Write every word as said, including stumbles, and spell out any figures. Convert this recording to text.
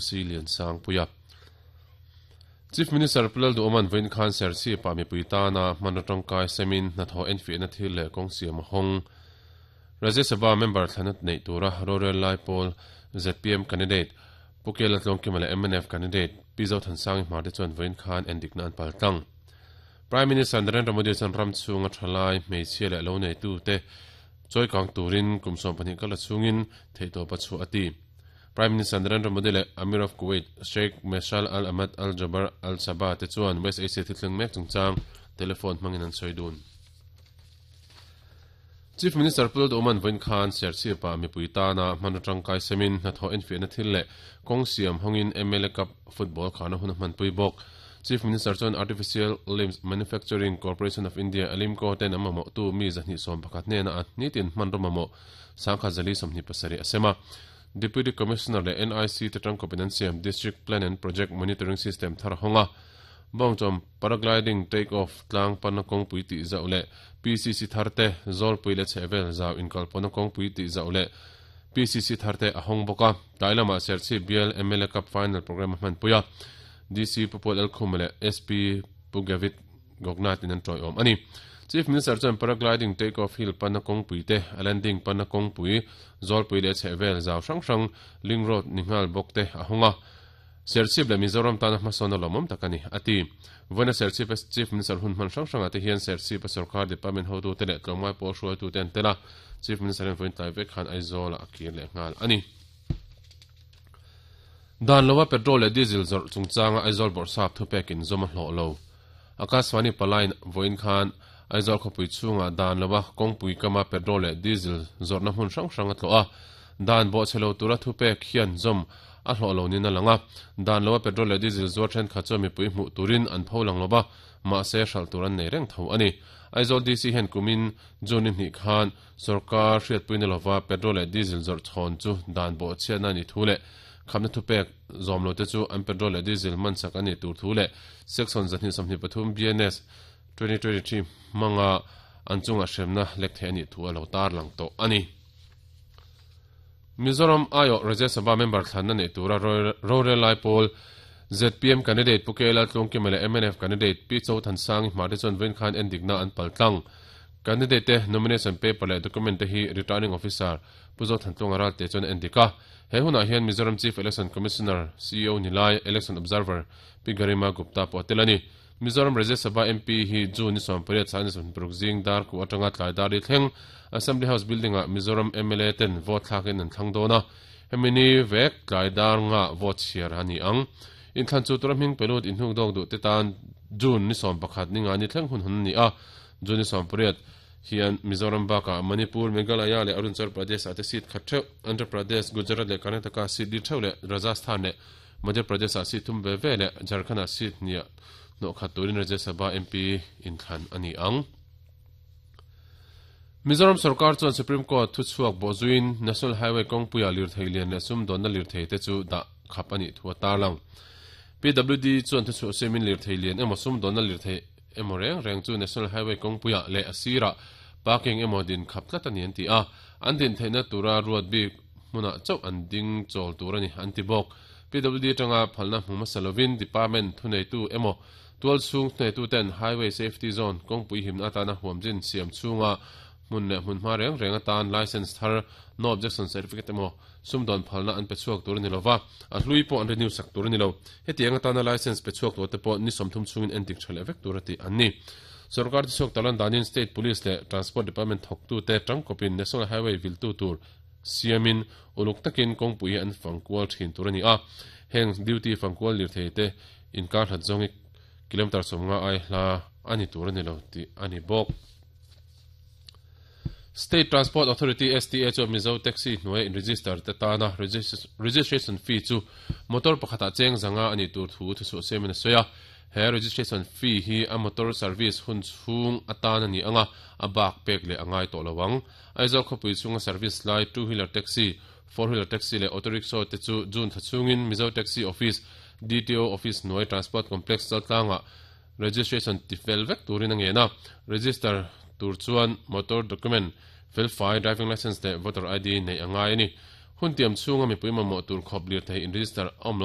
Si Liansangpuia. Chief Minister Pu Lalduhoma'n vawiin khan Serchhip-ah mipui tana hmanraw tangkai semin hnathawh enfiahna thil leh kawng siam a hawng. Rajya Sabha member thlan a neih tura rorel lai pawl Z P M candidate Pu Kela Tlawngkima leh M N F candidate Pi Zothansangi Hmar te chuan vawiin khan endikna an pal tlang. Prime Minister Narendra Modi chuan ram chhunga thalai hmeichhia leh lo neitu te chawikang turin kum sawm pahnih kala chhungin theihtawp a chhuah a ti. Prime Minister Narendra Modi leh Amir of Kuwait Sheikh Meshal Al Ahmad Al Jaber Al Sabah te chuan West Asia thilthleng mek chungchang telephone hmangin an sawi dun. Chief Minister Pu Lalduhoma'n vawiin khan Serchhip-ah mipui tana hmanraw tangkai semin hnathawh enfiahna thil leh kawng siam hawngin M L A Cup football khana hun a hmanpui bawk. Chief Minister chuan Artificial Limbs Manufacturing Corporation of India Alimco ten a mamawh tu mi zahnih sawm pakhat hnena a nitin hmanraw mamawh sangkhat zali sawmhnih pasarih a sem a. Deputy Commissioner leh N I C te tangkawpin an siam District Plan and Project Monitoring System thar hawnga. Bawngchawm paragliding take off tlang pana kawngpui tih zauh leh P C C thar te Zawlpui leh chhehvel zau inkalpawhna kawngpui tih zauh leh P C C thar te a hawng bawk a. Tlai lamah Serchhip bial M L A Cup final program a hmanpui a. D C Pu Paul Lalkhuma leh S P Pu Gavit Gognath in an tawiawm a ni. Chief Minister chuan paragliding take off hill pana kawngpui te a landing pana kawngpui Zawlpui leh chhehvel zau hrang hrang link road ni nghal bawk te a hawnga. Serchhip leh Mizoram tana hmasawn a lawmawm tak a ni a ti. Vawiina Serchhip Chief Minister hun hman hrang hrangah te hian Serchhip a sarkar department hotu te leh tlawmngai pawl hruaitu te an tel a. Chief Minister hian vawiin tlai vek khan Aizawl ah a kir leh nghal a ni. Dan lova petrol leh diesel zawrh chungchanga Aizawl bawrhsap thupekin zawm a hlawh lo. Akashvani palain vawiin khan Aizawl khawpui chhungah dan lova kawngpui kama petrol leh diesel zawrhna hmun hrang hrang a tlawh a. Dan bawhchhe lo tura thupek hian zawm a hlawh lo niin a lang a. Dan lova petrol leh diesel zuar thenkhat chuan mipui hmuh turin an pho lang lova, mahse hralh tur an nei reng tho a ni. Aizawl D C hian kumin June ni hnih khan sorkar hriatpuina lova petrol leh diesel zawrh chhawn chu dan bawhchhiatna a nih thu leh khamna thupek zawm lo te chu an petrol leh diesel man sak a nih tur thu leh section zahnih sawmhnih pathum B N S twenty twenty three hmanga an chungah hremna lek theih a nih thu a lo tar lang tawh a ni. Mizoram aiawh Rajya Sabha member thlanna neih tura rorel lai pawl Z P M candidate Pu K Laltlungkima leh M N F candidate Pi Zothansangi Hmar te chuan vawiin khan endikna an pal tlang. Candidate te nomination paper leh document te hi returning officer Pu Zothantlunga Ralte chuan endik a. He hunah hian Mizoram Chief Election Commissioner C E O Nilai Election Observer Pi Garima Gupta pawh a tel a ni. Mizoram Rajya Sabha M P hi June ni sawmpariat sang ni sawmhnih zing dar ku atanga tlai dar li thleng Assembly House building ah Mizoram M L A ten vote thlakin an thlang dawn a. Hemi ni vek tlai dar nga vote chhiar a ni ang. Inthlan chu tura hming pelut inhnuk dawk duh te tan June ni sawm pakhat ni nga ni thleng hun hun ni a. June ni sawmpariat hian Mizoram bakah Manipur, Meghalaya leh Arunachal Pradesh ah te seat khat theuh, Andhra Pradesh, Gujarat leh Karnataka seat li theuh leh Rajasthan leh Madhya Pradesh ah seat thum ve ve leh Jharkhand ah seat hniah hnawh khat turin Rajya Sabha M P inthlan a ni ang. Mizoram sarkar chuan Supreme Court thuchhuak bawhzuiin National Highway kawngpuia lirthei lian leh sumdawnna lirthei te chu dah khap a nih thu a tarlang. P W D chuan thuchhuah siamin lirthei lian emaw sumdawnna lirthei emaw reng reng chu National Highway kawngpuia leh a sirah parking emaw din khap tlat a ni an ti a. An din theihna tura ruat bik hmunah chauh an ding chawl tur a ni an ti bawk. P W D tanga phalna hmu hmasa lovin department thuneitu emaw tual chhung thuneitu ten Highway Safety Zone kawngpui himna atana huamjin siam chhunga hmun leh hmun hma reng reng atan license thar, no objection certificate emaw sumdawn phalna an pe chhuak tur a ni lova, a hlui pawh an renew sak tur a ni lo. Hetiang atana license pe chhuak tur te pawh ni sawmthum chhungin endik tha leh vek tur a ti an ni. Sarkar ti chhuak talan danin State Police leh Transport Department thawktu te tangkawpin National Highway viltu tur siamin uluk takin kawngpui hi an fangkual thin tur a ni a. Heng duty fangkual lirthei te inkar hlat zawngi kilometer sawmnga ai hla a ni tur a ni lo tih a ni bawk. State Transport Authority S T A chu Mizo Taxi hnuai in register te tana registration fee chu motor pakhatah cheng zanga ani tur thu thuchhuah siamin a sawi a. He registration fee hi a motor service hun chhung atan ani anga, a bak pek leh angai tawh lo ang. Aizawl khawpui chhunga service lai two wheeler taxi, four wheeler taxi leh auto rickshaw te chu June thla chhungin Mizo Taxi Office, D T O Office hnuai Transport Complex Chaltlanga registration ti fel vek turin a ngen a. Register tur chuan motor document fel fai, driving license leh voter I D nei angai a ni. Hun Hun tiam chhunga mipui mamawh tur khawp lirthei in register awm lo